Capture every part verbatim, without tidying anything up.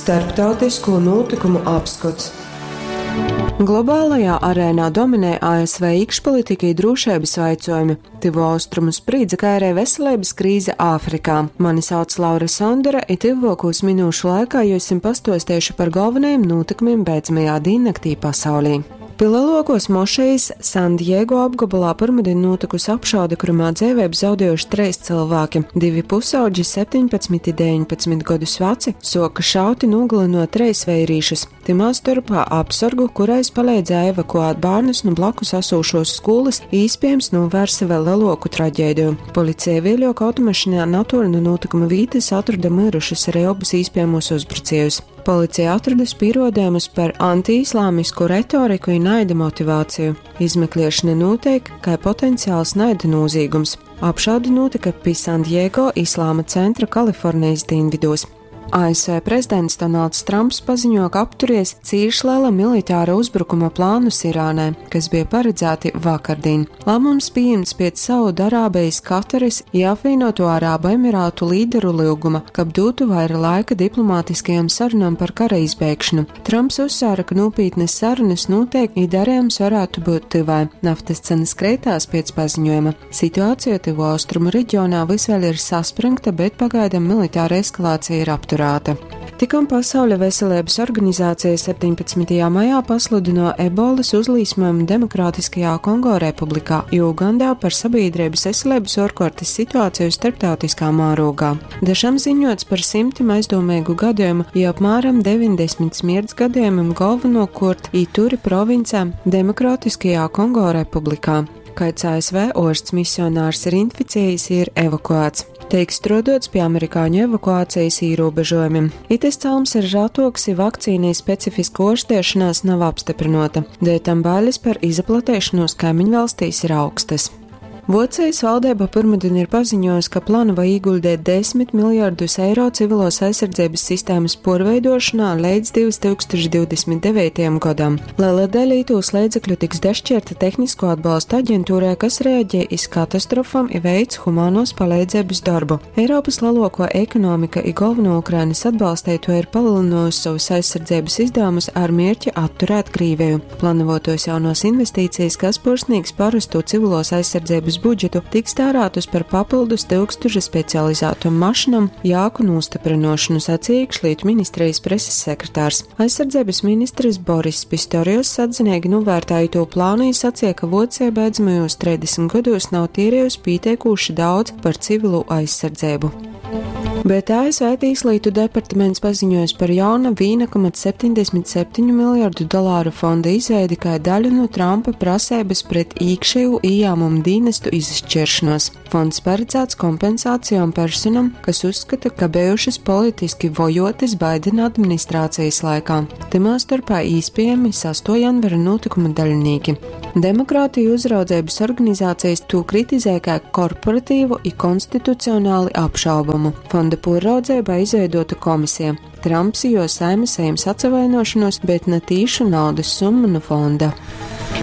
Starptautisko nūtykumu apskots. Globālajā arēnā dominē A S V iekšpolitika i drūšeibys vaicuojumi, Tyvu Austrumu sprīdze, kai arī veselības krīze Āfrikā. Mani sauc Laura Sondore, i tyvuokūs minūšu laikā jums pastuosteišu par galvenajiem nūtikumiem beidzamajā dīnnaktī pasaulī. Pi lielākos mošejas San Diego apgabalā pirmdien notikusi apšaude, kurumā dzīvību zaudējuši trīs cilvēki. Divi pusaudži, septiņpadsmit, deviņpadsmit gadus veci, soka šauti nogalinot treis vērīšus. Timā starpā apsargu, kurais palīdzēja evakuēt bērnus no blakus asūšos skolas, iespējams novērsa vēl lielāku traģēdiju. Policija vēļok automašīnā netoli no notikuma vītes atrada mirušus arī abus iespējamos uzbrucējus. Policija atradusi pierādījumus par antiislāmisku retoriku un naida motivāciju. Izmeklēšana notiek kā potenciāls naida noziegums. Apšaude notika pie San Diego Islāma centra Kalifornijas dienvidos. A S V prezidents Donalds Trumps paziņo, ka apturies cīši liela militāra uzbrukuma plānus Irānai, kas bija paredzēti vakardien. Lēmums pieņemts pēc Saudarābijas, Kataras i Apvienoto Arābu Emirātu līderu lūguma, kab dotu vaira laika diplomātiskajām sarunām par kara izbeigšanu. Trumps uzsvēra, ka nopietnas sarunas notiek, i darījums varētu būt tuvai. Naftas cenas kreitās pēc paziņojuma. Situācija Tuvo Austrumu reģionā vis vēl ir saspringta, bet pagaidām militāra eskalācija ir apturēta. Tikom Pasaules veselības organizācija septiņpadsmitajā maijā pasludino ebolas uzlīsmojumu Demokrātiskajā Kongo Republikā i Ugandā par sabiedrības veselības ārkārtas situāciju starptautiskā mārogā. Dažam ziņots par simtiem aizdomīgu gadījumu, i apmēram deviņdesmit smirts gadījumiem galvenokārt Ituri provincē Demokrātiskajā Kongo Republikā. Kāds A S V orsts misionārs ir inficējies, ir evakuēts. Tiek strodots pie amerikāņu evakuācijas ierobežojumiem. Itis celms ir ratoks, i vakcīnai specifiska ārstēšanās nav apstiprinota. Dēļ tam bailes par izplatēšanos kaimiņvalstīs ir augstas. Vocijas valdība pirmdien ir paziņojusi, ka plāno ieguldīt desmit miljardus eiro civilos aizsardzības sistēmas porveidošanā līdz divtūkstoš divdesmit devītajam gadam. Liela daļa itūs līdzekļu tiks dašķirta tehnisko atbalstu aģentūrai, kas reaģē iz katastrofām i veic humānos palīdzības darbu. Eiropas lielāko ekonomika i galveno Ukrainas atbalstīto ir palielinājusi savus aizsardzības izdevumus ar mērķi atturēt Krīviju. Plānotos jaunos investīcijas, kas porsnīgs parasto civilos aizsardzības budžetu, tiks tērētus par papildus tūkstošu specializētu mašīnam jāku nostiprinošanu, sacīja iekšlietu ministrijas preses sekretārs. Aizsardzības ministrs Boris Pistorius atzinīgi novērtēja to plānu, sacīja, ka Vocija beidzamajos trīsdesmit gados nav tierējusi pieteikuši daudz par civilu aizsardzību. Bet A S V Tieslietu departaments paziņojis par jauna viena komats septiņdesmit septiņu miljardu dolāru fonda izveidi kā daļu no Trumpa prasības pret iekšēju ieņēmumu dienestu izšķiršanos. Fonds paredzēts kompensācijām personam, kas uzskata, ka bijušas politiski vojotas Baidena administrācijas laikā. Timā starpā īspējami sesto janvara notikuma daļinieki. Demokrātiju uzraudzības organizācijas to kritizē kā korporatīvu i konstitucionāli apšaubamu. Fonda poraudzībā izveidota komisija. Trumps jo saima saņems atsavainošanos, bet ne tīšu naudas summu no fonda.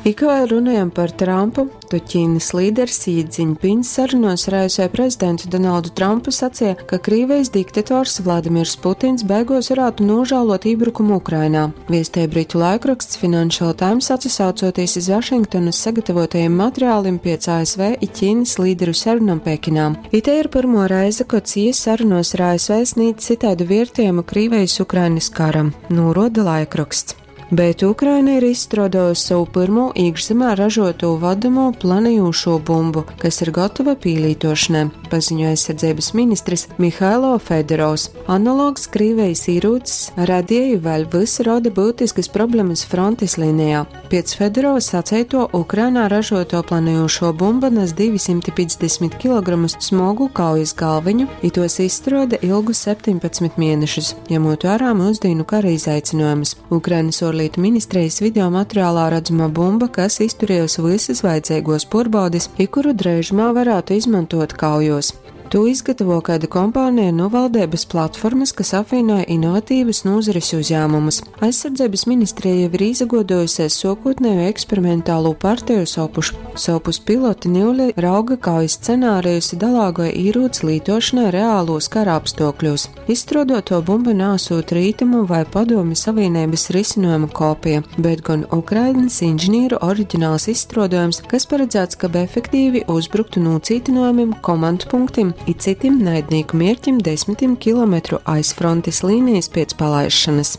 I kā runājam par Trumpu, to Ķīnas līderis Xi Jinpings sarunos ar A S V prezidentu Donaldu Trumpu sacīja, ka Krīvijas diktators Vladimirs Putins beigos varētu nožēlot iebrukumu Ukrainā. Viestēja britu laikraksts Financial Times, atsaucoties iz Vašingtonas sagatavotajiem materiāliem pēc A S V i Ķīnas līderu sarunām Pekinā. Ite ir pirmo reize, kad Xi sarunos ar A S V sniedz citādu vērtējumu Krīvijas-Ukrainas karam, noroda laikraksts. Bet Ukraina ir izstrādājusi savu pirmo iekšzemē ražoto vadamo planējošo bumbu, kas ir gatava pīlītošanai, paziņoja aizsardzības ministrs Mihailo Fedorovs. Analogs Krīvijas ierūcis radīja vēl visu rada būtiskas problēmas frontes līnijā. Pēc Fedorova sacēto, Ukrainā ražoto planējošo bumbu nes divsimt piecdesmit kilogramus smogu kaujas galviņu, i tos izstrāde ilgu septiņpadsmit mēnešus, ņemot vērā mūsdienu kara izaicinājumus. Ukrainas ārlietu ministrijas video materiālā redzama bumba, kas izturējusi visas vajadzīgos porbaudes, i kuru drēžumā varētu izmantot kaujos. Tū izgatavo kaida kompānija nu valdeibys platformys, kas apvīnoja inovatīvys nūzaris uzjāmumus. Aizsardzeibys ministrija jau ir īsaguoduojusies suokūtneju eksperimentālū parteju sopuš. Sovpus piloti niule rauga kaujas scenārijus i dalāgoja īrūci lītošanai reālūs kara apstuokļūs. Izstruoduotuo bumba naasūt Rītumu vai Padomju Savīneibys risinojuma kopija, bet gon Ukrainys inženīru oriģināls izstruodojums, kas paredzēts, kab efektīvi uzbruktu nūcītynojumim, komandpunktim i cytim naidnīku mierķim desmitim kilometru aiz frontis līnijas piec palaišanas.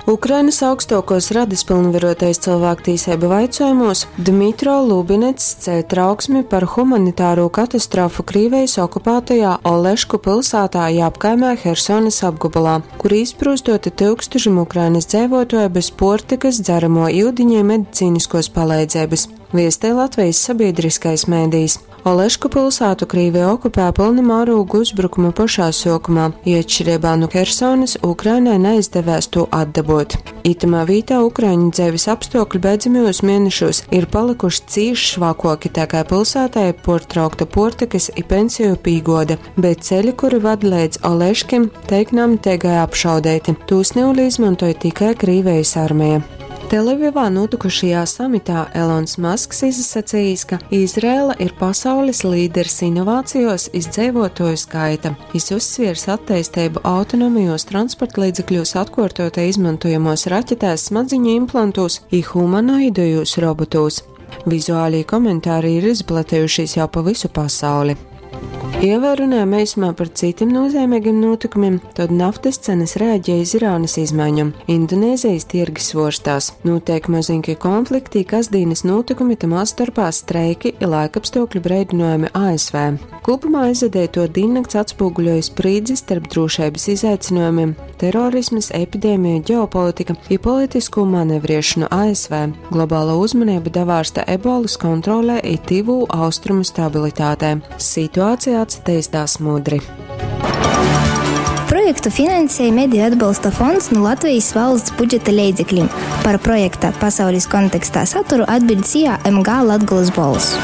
Ukrainas augstuokos radis pilnvarotais cylvāktīseibu vaicuojumos Dmitro Lubinets ceļ trauksmi par humanitārū katastrofu Krīvejis okupātajā Olešku pilsātā i apkaimē Hersonas apgobolā, kur izsprūstoti tyukstušim Ukrainas dzeivuotuoju bez puortykys, dzeramo iudiņa i medicīniskuos paleidzeibys, viestej Latvejis sabīdriskais medijs. Olešku pilsātu Krīvija okupēja pylna mārūga uzbrukuma pošā suokumā, i atšķireibā nu Hersonys Ukrainai naizdevēs tū atdabuot. Itamā vītā ukraiņu dzeivis apstuokļi beidzamajūs mienešūs ir palykuši cīši švakuoki, tā kai pilsātai ir puortraukta puortykys i pensiju pīguode, bet ceļi, kuri vad leidz Oleškim, teik namteigai apšaudeiti. Tūs niule izmontoj tikai Krīvejis armeja. Telavivā nūtykušajā samitā Elons Masks izasacījis, ka Izraela ir pasaules līderis inovācijos iz dzeivuotuoju skaita. Jis uzsviers atteisteibu autonomajos transportlīdzekļūs, atkuortotai izmantojamos raķetēs, smadziņu implantūs i humanoidajūs robotūs. Vizuālī komentāri ir izplatejušies jau pa visu pasauli. Ja vēl runājam eisumā par citiem nozīmīgiem notikumiem, tad naftas cenas reaģēja iz Irānas izmaiņom. Indonēzijas tirgi svorstās. Notiek mazinki konflikti, kasdienas notikumi, tamā starpā streiki i laikapstākļu breidinojumi A S V. Kopumā aizvadīto diennakts atspoguļoja sprīdzi starp drošības izaicinājumiem, terorismas, epidēmiju, ģeopolitika i politisko manevriešanu A S V. Globāla uzmanība davārsta ebolas kontrolē i tivū austrumu stabilitātē. Situācija atsateistās mudri. Projektu finansēja Mediju atbalsta fonds no Latvijas valsts budžeta leidzekļiem. Par projekta pasaules kontekstā saturu atbild S I A M G Latgulas Bolss.